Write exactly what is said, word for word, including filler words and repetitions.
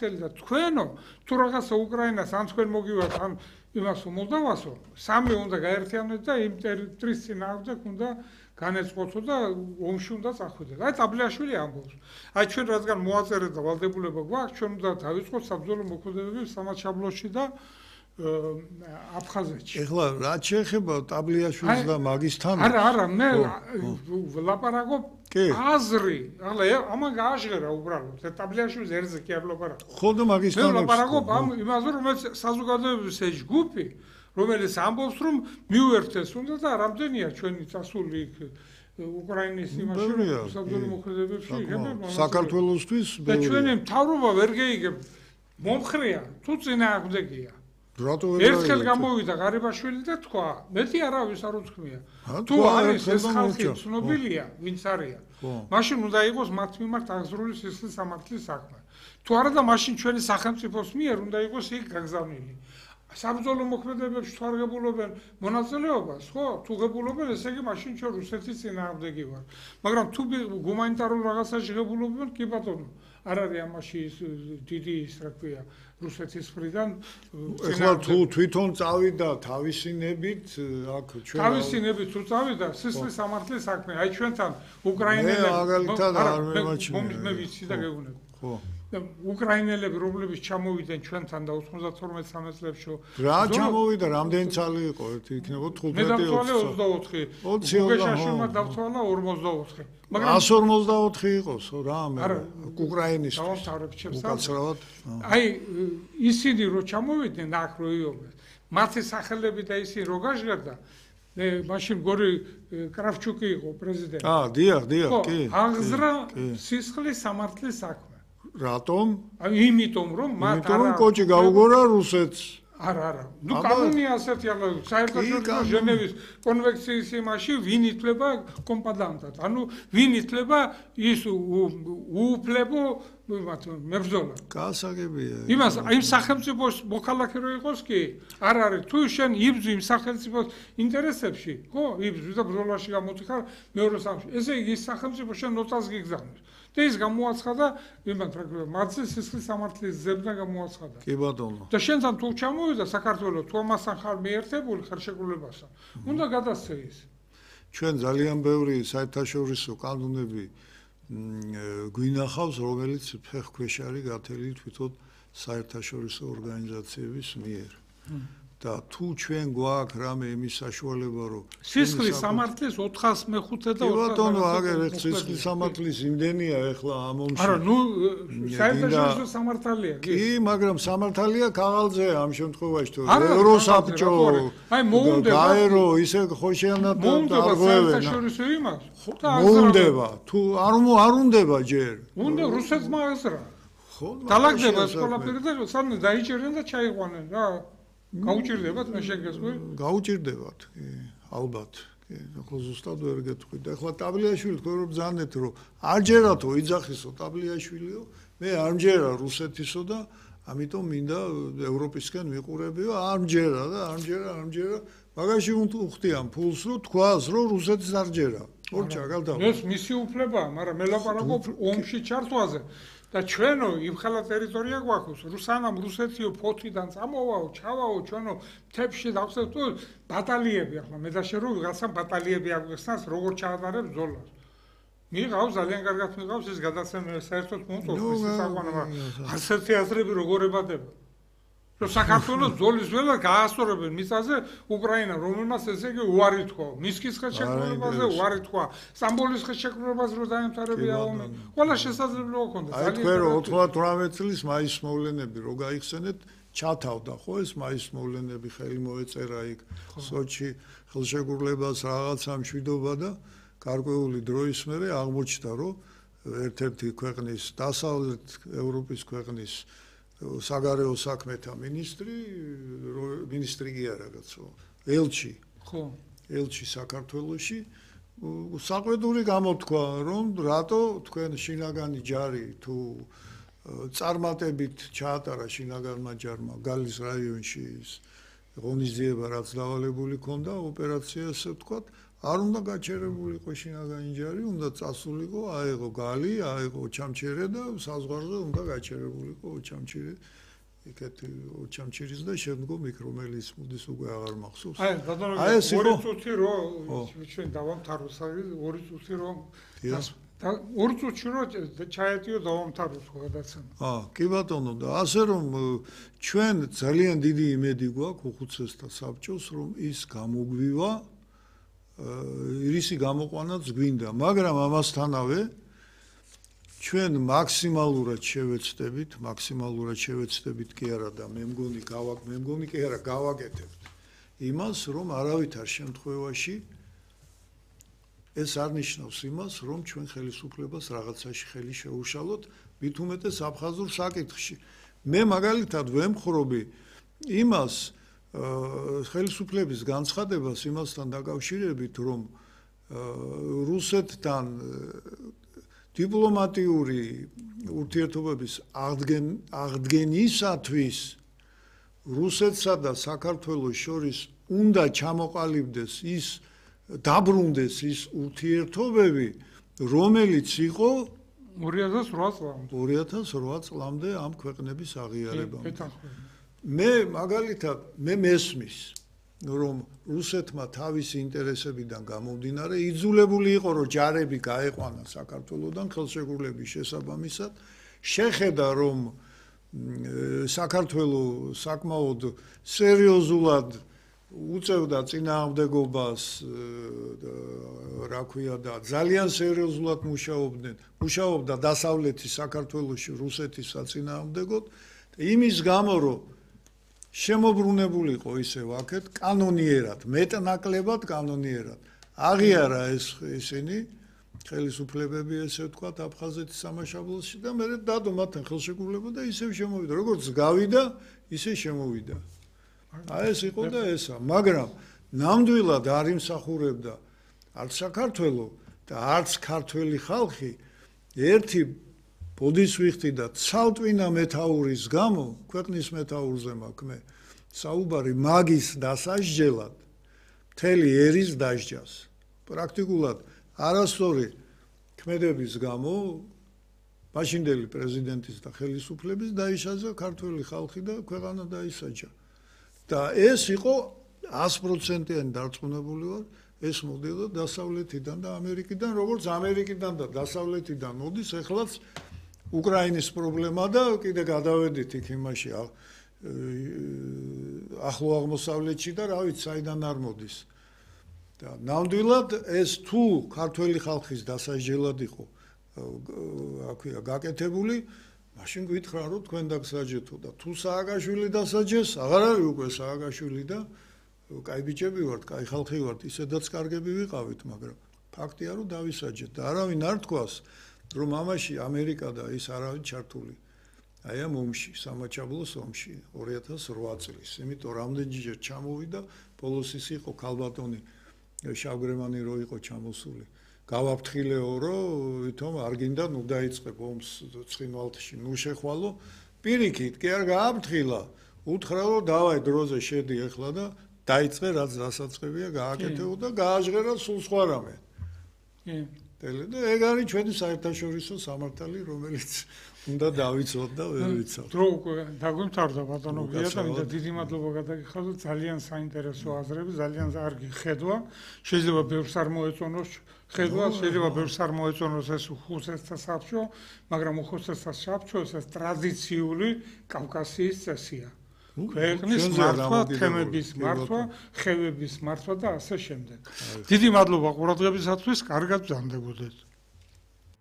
საფრთხელი და თქვენო თუ რაღაცა უკრაინას ან თქვენ მოგივართ ან იმასო მოლდავასო სამი უნდა გაერთიანოთ და იმ ტერიტორიის წინააღმდეგ უნდა განეწყოთო და ომში უნდა წახვიდეთ. აი ტაბლიაშვილი ამბობს. აი ჩვენ რადგან მოაწერეთ და ვალდებულება გვაქვს, ჩვენ უნდა დავიწყოთ საბრძოლო მოქმედებები სამაჩაბლოში და აფხაზეთში. ეხლა რა შეეხება ტაბლიაშვილს და მაგისთან? არა, არა, მე ვლაპარაკობ აზრი. ახლა ამან გააჟღერა უბრალოდ. ტაბლიაშვილს ერთზე კი არ ვლაპარაკობ. ხო და მაგისთან. მე ვლაპარაკობ ამ იმაზე, რომელიც საზოგადოების ეს ჯგუფი, რომელიც ამბობს, რომ მივერთეს უნდა და რამდენია ჩვენი წასული იქ უკრაინის იმაში საბრძოლო მოქმედებებში. საქართველოსთვის და ჩვენი მთავრობა ვერ გეიგებ მომხრეა თუ წინააღმდეგია. ერთხელ გამოვიდა ღარიბაშვილი და თქვა, მეტი არავის არ უთქმია. თუ არის ეს ხალხი ცნობილია, ვინც არიან. მაშინ უნდა იყოს მათ მიმართ აღზრული სისხლის სამართლის საქმე. თუ არა და მაშინ ჩვენი სახელმწიფოს მიერ უნდა იყოს იქ გაგზავნილი. საბრძოლო მოქმედებებში თუ არ ღებულობენ მონაწილეობას, ხო? თუ ღებულობენ, ესე იგი მაშინ ჩვენ რუსეთის წინააღმდეგი ვართ. მაგრამ თუ გუმანიტარულ რაღაცაში ღებულობენ, კი ბატონო, არ არის ამაში დიდი ის რა ქვია, რუსეთის მხრიდან. ეხლა თუ თვითონ წავიდა თავისი ნებით, აქ ჩვენ თავისი ნებით თუ წავიდა, სისხლის სამართლის საქმე, აი ჩვენთან უკრაინელები. მე მაგალითად არ მემაჩნია. მე ვიცი და გეუბნები. ხო. უკრაინელები რომლებიც ჩამოვიდნენ ჩვენთან და ოცდაათი სამი წლებში რა ჩამოვიდა რამდენი წელი იყო ერთი იქნება თხუთმეტი მე დავთვალე ოცდაოთხი გუგეშაშვილმა დავთვალა ორმოცდაოთხი მაგრამ εκατს ორმოცდაოთხი იყოსო რა მე უკრაინის უკაცრავად აი ისინი რო ჩამოვიდნენ აქ რო იობეს მათი სახელები და ისინი რო გაჟღერდა მე მაშინ გორი კრავჩუკი იყო პრეზიდენტი აა დიახ დიახ კი აღზრა სისხლის სამართლის საქმე რატომ? აი იმიტომ რომ მათ არა იმიტომ რომ კოჭი გაუგორა რუსეთს. არა, არა. ნუ კანონია ასეთი ახლა საერთაშორისო ჟენევის კონვენციის იმაში ვინ ითვლება კომპადანტად. ანუ ვინ ითვლება ის უუფლებო მებრძოლად. გასაგებია. იმას იმ სახელმწიფოს მოქალაქე რო იყოს კი არ არის თუ შენ იბრძვი იმ სახელმწიფოს ინტერესებში, ხო? იბრძვი და ბრძოლაში გამოდიხარ მეორე სამში. ესე იგი ის სახელმწიფო შენ ნოცას გიგზავნოს. და ის გამოაცხადა იმათ რა ქვია მათზე სისხლის სამართლის ზებნა გამოაცხადა. კი ბატონო. და შენთან თუ ჩამოვიდა საქართველოს თუ ამასთან ხარ მიერთებული ხარშეკრულებასთან, უნდა გადასცე ის. ჩვენ ძალიან ბევრი საერთაშორისო კანონები გვინახავს, რომელიც ფეხქვეშ არის გათვლილი თვითონ საერთაშორისო ორგანიზაციების მიერ. და თუ ჩვენ გვაქვს რამე იმის საშუალება რომ სისხლის სამართლის ოთხას მეხუთე და ბატონო აგერ სისხლის სამართლის იმდენია ეხლა ამ ომში არა ნუ საერთაშორისო სამართალია კი მაგრამ სამართალია ქაღალდზე ამ შემთხვევაში თუ ევროსაბჭო აი მოუნდება გაერო ისე ხოშიანად არღვევენ საერთაშორისო იმას მოუნდება თუ არ არ უნდება ჯერ უნდა რუსეთმა აზრა ხო დალაგდება ეს ყველაფერი და სამ დაიჭერენ და ჩაიყვანენ რა გაუჭირდებათ მე შეგესმე? გაუჭირდებათ, კი, ალბათ. კი, ახლა ზუსტად ვერ გეტყვი. და ახლა ტაბლიაშვილი თქვენ რომ ბრძანეთ რომ არჯერათო იძახისო ტაბლიაშვილიო, მე არჯერა რუსეთისო და ამიტომ მინდა ევროპისკენ ვიყურებიო, არჯერა და არჯერა, არჯერა. მაგაში უხდიან ფულს რომ თქვას რომ რუსეთის არჯერა. ორჩა გავდა. ეს მისი უფლებაა, მაგრამ მე ლაპარაკობ ომში ჩართვაზე. და ჩვენო იმ ხალა ტერიტორია გვაქვს რუსანამ რუსეთიო ფოთიდან წამოვაო ჩავაო ჩვენო მთებში დავხსნათ ბატალიები ახლა მე და შე რო ვიღაცამ ბატალიები აგვიხსნას როგორ ჩაატარებს ბრძოლას მიღავს ძალიან კარგად მიღავს ეს გადაცემა საერთოდ მომწონს ის საყვანა ასეთი აზრები როგორ ებადება რომ საქართველოს ბრძოლის ველა გაასწორებენ მიწაზე უკრაინა რომელმაც ესე იგი უარი თქვა მისკის ხელშეკრულებაზე უარი თქვა სტამბოლის ხელშეკრულებაზე რომ დაემთავრებია ომი ყველა შესაძლებლობა ჰქონდა ძალიან აი თქვენ რომ ოცდაათი წლის მაისის მოვლენები რო გაიხსენეთ ჩათავდა ხო ეს მაისის მოვლენები ხელი მოეწერა იქ სოჩი ხელშეკრულებას რაღაცა მშვიდობა და გარკვეული დროის მერე აღმოჩნდა რომ ერთ-ერთი ქვეყნის დასავლეთ ევროპის ქვეყნის საგარეო საქმეთა მინისტრი მინისტრი კი არა კაცო ელჩი ხო ელჩი საქართველოში საყვედური გამოთქვა რომ რატო თქვენ შინაგანი ჯარი თუ წარმატებით ჩაატარა შინაგანმა ჯარმა გალის რაიონში ღონისძიება რაც დავალებული ქონდა ოპერაცია ასე ვთქვათ არ უნდა გაჩერებულიყო შინაგანი ჯარი, უნდა წასულიყო, აეღო გალი, აეღო ჩამჩერე და საზღვარზე უნდა გაჩერებულიყო ჩამჩერე. იქეთი ჩამჩირის და შემდგომ იქ რომელიც მოდის უკვე აღარ მახსოვს. აი, ბატონო, ორი წუთი რო ჩვენ დავამთავროს, ორი წუთი რო და ორი წუთი რო ჩაეტიო დავამთავროს გადაცემა. აა, კი ბატონო, და ასე რომ ჩვენ ძალიან დიდი იმედი გვაქვს უხუცესთა საბჭოს, რომ ის გამოგვივა, ირისი გამოყვანაც გვინდა, მაგრამ ამასთანავე ჩვენ მაქსიმალურად შევეცდებით, მაქსიმალურად შევეცდებით კი არა და მე მგონი გავაკ, მე მგონი კი არა გავაკეთებთ იმას, რომ არავითარ შემთხვევაში ეს არ ნიშნავს იმას, რომ ჩვენ ხელისუფლებას რაღაცაში ხელი შეუშალოთ, მით უმეტეს აფხაზურ საკითხში. მე მაგალითად ვემხრობი იმას ხელისუფლების განცხადებას იმასთან დაკავშირებით, რომ რუსეთთან დიპლომატიური ურთიერთობების აღდგენისათვის რუსეთსა და საქართველოს შორის უნდა ჩამოყალიბდეს ის დაბრუნდეს ის ურთიერთობები, რომელიც იყო ორი ათას რვა წლამდე. ორი ათას რვა წლამდე ამ ქვეყნების აღიარებამდე. მე მაგალითად მე მესმის რომ რუსეთმა თავისი ინტერესებიდან გამომდინარე იძულებული იყო რომ ჯარები გაეყვანა საქართველოსდან ხელშეკრულების შესაბამისად შეხედა რომ საქართველოს საკმაოდ სერიოზულად უწევდა წინააღმდეგობას რა ქვია და ძალიან სერიოზულად მუშაობდნენ მუშაობდა დასავლეთის საქართველოში რუსეთის საწინააღმდეგოდ იმის გამო რომ შემოbrunებულიყო ისევ აქეთ კანონიერად, მეტნაკლებად კანონიერად. აღიარა ეს ისინი ხელისუფლებები ესე ვთქვათ აფხაზეთის სამაშაბლოში და მე დადო მათთან ხელშეკრულება და ისევ შემოვიდა. როგორც გავიდა, ისე შემოვიდა. აი ეს იყო და ესა, მაგრამ ნამდვილად არ იმსახურებდა არც საქართველო და არც ქართველი ხალხი ერთი ბოდის ვიხდი და ცალტვინა მეთაურის გამო, ქვეყნის მეთაურზე მაქვს მე, საუბარი მაგის დასაჯელად, მთელი ერის დასჯას. პრაქტიკულად არასწორი ქმედების გამო, მაშინდელი პრეზიდენტის და ხელისუფლების დაიშალა ქართველი ხალხი და ქვეყანა დაისაჯა. და ეს იყო ას პროცენტიანი დარწმუნებული ვარ, ეს მოდიოდა დასავლეთიდან და ამერიკიდან, როგორც ამერიკიდან და დასავლეთიდან მოდის, ეხლაც უკრაინის პრობლემა და კიდე გადავედით იქ იმაში ახლო აღმოსავლეთში და რა ვიცი საიდან არ მოდის. და ნამდვილად ეს თუ ქართველი ხალხის დასაჯელად იყო რა ქვია გაკეთებული, მაშინ გითხრა რომ თქვენ დაგსაჯეთო და თუ სააკაშვილი დასაჯეს, აღარ არის უკვე სააკაშვილი და კაი ბიჭები ვართ, კაი ხალხი ვართ, ისედაც კარგები ვიყავით, მაგრამ ფაქტია რომ დავისაჯეთ და არავინ არ თქვას რომ ამაში ამერიკა და ის არავინ ჩართული. აი ამ ომში, სამაჩაბლოს ომში ორი ათას რვა წლის. იმიტომ რამდენჯერ ჩამოვიდა, ბოლოს ის იყო ქალბატონი შავგრემანი რო იყო ჩამოსული. გავაფრთხილეო რომ ვითომ არ გინდა ნუ დაიწყებ ომს ცხინვალთში, ნუ შეხვალო. პირიქით კი არ გააფრთხილა. უთხრა რომ დავაი დროზე შედი ეხლა და დაიწყე რაც დასაწყებია გააკეთეო და გააჟღერა სულ სხვა რამე. კი. და ეგ არის ჩვენი საერთაშორისო სამართალი, რომელიც უნდა დავიცოთ და ვერ ვიცავთ. დრო უკვე დაგვიმთავრდა ბატონო გია და მინდა დიდი მადლობა გადაგიხადოთ, ძალიან საინტერესო აზრები, ძალიან კარგი ხედვა. შეიძლება ბევრს არ მოეწონოს ხედვა, შეიძლება ბევრს არ მოეწონოს ეს უხუცესთა საბჭო, მაგრამ უხუცესთა საბჭო ეს ტრადიციული კავკასიის წესია. ქვეყნის მართვა, თემების მართვა, ხევების მართვა და ასე შემდეგ. დიდი მადლობა ყურადღებისათვის, კარგად ბრძანდებოდეთ.